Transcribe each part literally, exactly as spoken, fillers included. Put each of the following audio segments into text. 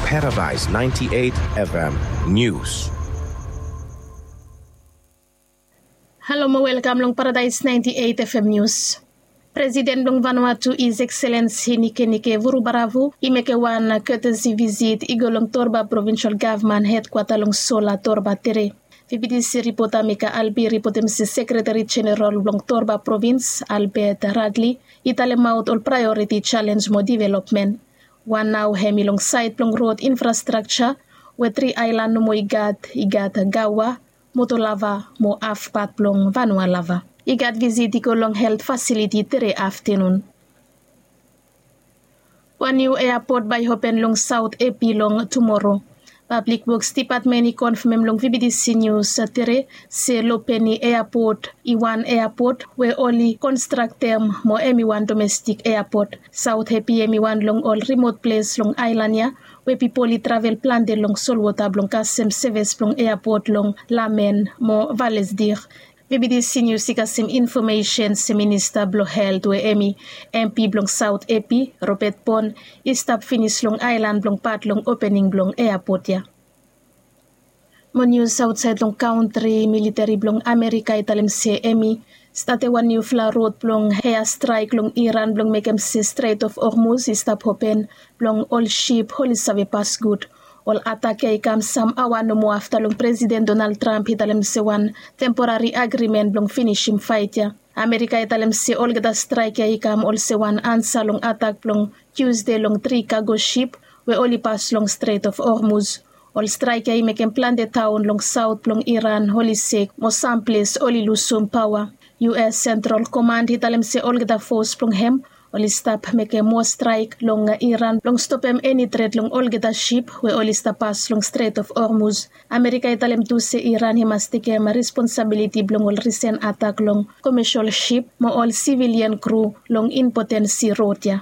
Paradise ninety-eight F M News. Halo mo welkam long Paradise ninety-eight F M News. Presiden blong Vanuatu, His Excellency Nikenike Vurubaravu, i mekem wan courtesy visit i go long Torba Provincial Gavman hedkwata long Sola, Torba tere. V B T C ripota Mika Albi ripotem se Sekretari Jeneral blong Torba Provins, Albert Radley, i talemaot ol praeoriti jalenj mo developmen. Wan nao hem i long saed blong rod infrastrakja, we tri aelan nomo i gat, i gat Gaua, Motolava mo hafpat blong Vanualava. I gat visit i go long helt fasiliti tere aftenun. Wan niu eapot bae i open long Saot Hepi long tumoro. Pablik Woks Dipatmen i konfamem long V B T C Nius tere se Lopeni Eapot i wan eapot we oli konstraktem mo hem i wan domestik eapot. Saot Hepi hem i wan long ol rimot ples long aelan ya we pipol i travel plante long solwota blong kasem sevis blong eapot long Lamen mo Valesdir. V B T C Nius i kasem infomesen se Minista blong Helt we hem i M P blong Saot Hepi, Robert Pon, i stap finis long aelan blong pat long opening blong eapot ya. Mo nius aotsaed long kantri, militeri blong Amerika i talem se hem i statem wan niufala rod blong eastraek long Iran blong mekem se Strait of Hormuz i stap open blong ol sip oli save pas gud. Ol atak ya i kam sam aoa nomo afta long Presiden Donald Trump i talem se wan temporari agrimen blong finisim faet ya. Amerika i talem se olgeta straek ya i kam olsem wan ansa long atak blong Tiusde long tri kago sip we oli pas long Strait of Hormuz. Ol straek ya i mekem plante taon long saot blong Iran oli sek mo sam ples oli lusum paoa. U S Central Command i talem se olgeta fos blong hem oli stap mekem moa straek long Iran blong stopem eni tret long olgeta sip we oli stap pas long Strait of Hormuz. Amerika i talem tu se Iran i mas tekem responsabiliti blong ol risen atak long komesol sip mo ol sivilian kru long impoten si rod ya.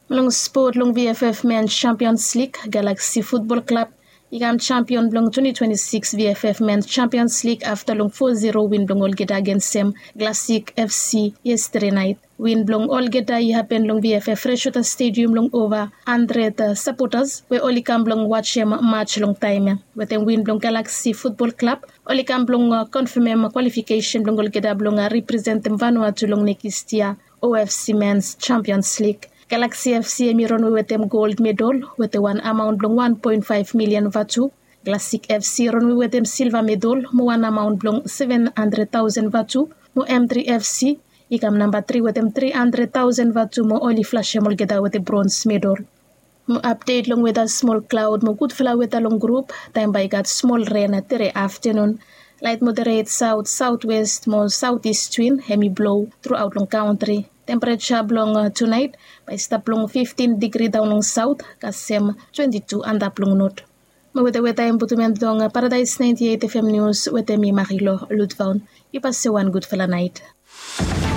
Long spot, long V F F Men's Champions League, Galaxy Football Club i kam champion blong twenty twenty-six V F F Men's Champions League afta long four zero win blong olgeta agensem Classic F C yestede naet. Win blong olgeta i hapen long V F F Freshwater Stadium long ova handred sapotas we oli kam blong wajem maj long taem ya. Wetem win blong Galaxy Football Club oli kam blong konfamem kwalifikesen blong olgeta blong representem Vanuatu long nekis yia O F C Men's Champions League. Galaxy F C hem i ronwe wetem gold medal wetem wan amaon blong wan poen faef milian vatu. Classic F C i ronwe wetem silva medal mo wan amaon blong seven handred taosen vatu. Mo M three F C i kam namba tri wetem tri handred taosen vatu mo oli flasem olgeta wetem brons medal. Mo apdet long weta, smol klaod mo gudfala weta long grup, taem bae i gat smol ren tere aftenun. Laet moderet saot, saotwes mo saotis win hem i blo truaot long kantri. Tempereja blong tunaet bae i stap long fiftin digri daon long saot kasem twenti tu antap long not. Mo wetem weta hem i putum en long Paradise ninety eight F M Nius wetem mi Marilo Lutvaon. Yu pasem wan gudfala naet.